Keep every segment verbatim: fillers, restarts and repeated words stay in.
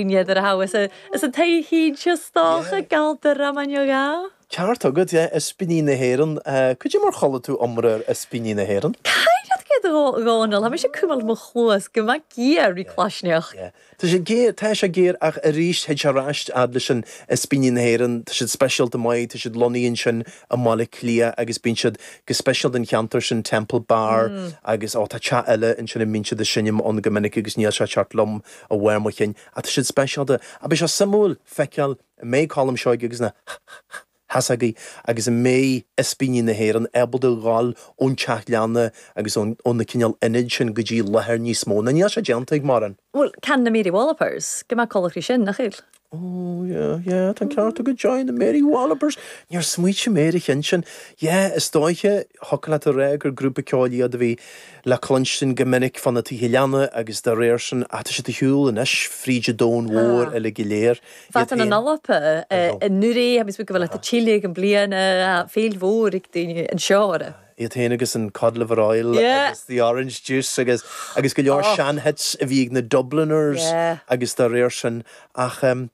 N'fheadar a thabhas is an taithí is dócha Galtara man ga. Ceart agat, yeah, Ispíní na hÉireann. Cad é mar chuala tú iomrá ar Ispíní na hÉireann? Caid go ná sé cumal mo chluas go maith géar rí cláisneach. Tá sé géar tá sé géar ach arís théid sé ar ais fhad leis an Ispíní na hÉireann, tá siad speisialta maith, tá siad lonnaithe ansin i mBaile Átha Cliath agus bíonn siad go speisialta den cheantar sin Temple Bar agus ó tá teach eile ansin a mbíonn siad ag seinm ann go minic agus níl sé ceart liom a bharr mo chinn ach tá siad speisialta a beidh sé suimiúil feiceáil an mbeidh Colm Seoighe agus na heasagaí agus an mbeidh Ispíní na hÉireann ábalta dhul ón teach leanna agus ón na cineál ionaid sin go dtí láthair níos mó. Na níl sé déanta ag mórán. Well can na Mary Wallopers, go mbeadh colaachraí sin nach bhfuil. Oh yeah, yeah, tá ceart go join the Mary Wallopers. Níor smaointigh mé ar an cheann sin. Yeah, is dóiche thiocfadh leat a rá gur grúpa ceoil iad a bhí le cluinstin go minic fan na tithe leanna agus dá réir sin ach tá siad ar shiúl anois fríd an domhan mhór uile go léir. Fat an Alpa nuair a go bhfuil a tíle an bliana féil mhór ag daoine anseo. Iad féin agus an cod liver oil agus the orange juice agus agus go leor sean-hits a bhí ag na Dubliners agus dá réir sin ach um,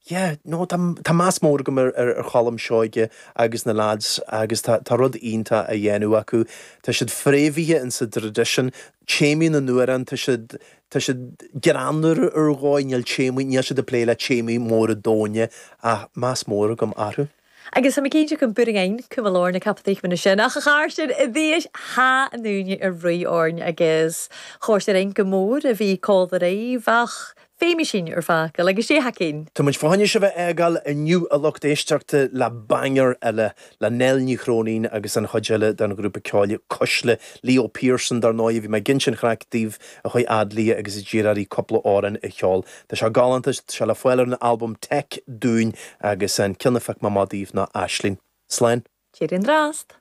yeah, no, tá, tá meas mór agam ar, ar, ar Cholm Seoighe agus na lads agus tá, tá rud iontach á dhéanamh acu. Tá siad fréamhaithe in sa tradition, téamaí na n-amhrán, tá siad tá siad greannmhar ar dhóigh níl téamaí níl siad ag plé le téamaí móra domhain ach meas mór agam orthu. Agus tá céide go buing cuma lár na captaí sin ach a char sin i bhíis há an dúine ar ri orn agus chóir ein go mór a bhí cóir bheith féimi sin ar fácail agus sé hacin. Tá muid fáinne se bheith eáil inniu a lucht éisteachta le banger eile le Nell Ní Chróinín agus an chuid eile den ghrúpa ceoil Cuisle Leo Pearson dar ndóigh bhí mé ag insint craic daoibh a chuaigh fhad léi agus a d'iarr uirthi cúpla amhrán a cheol. Tá sé galánta sé le fáil ar an albam Tech dúinn agus an ceann a phioc mé amach daoibh ná Aisling. Slán. Tír an drast.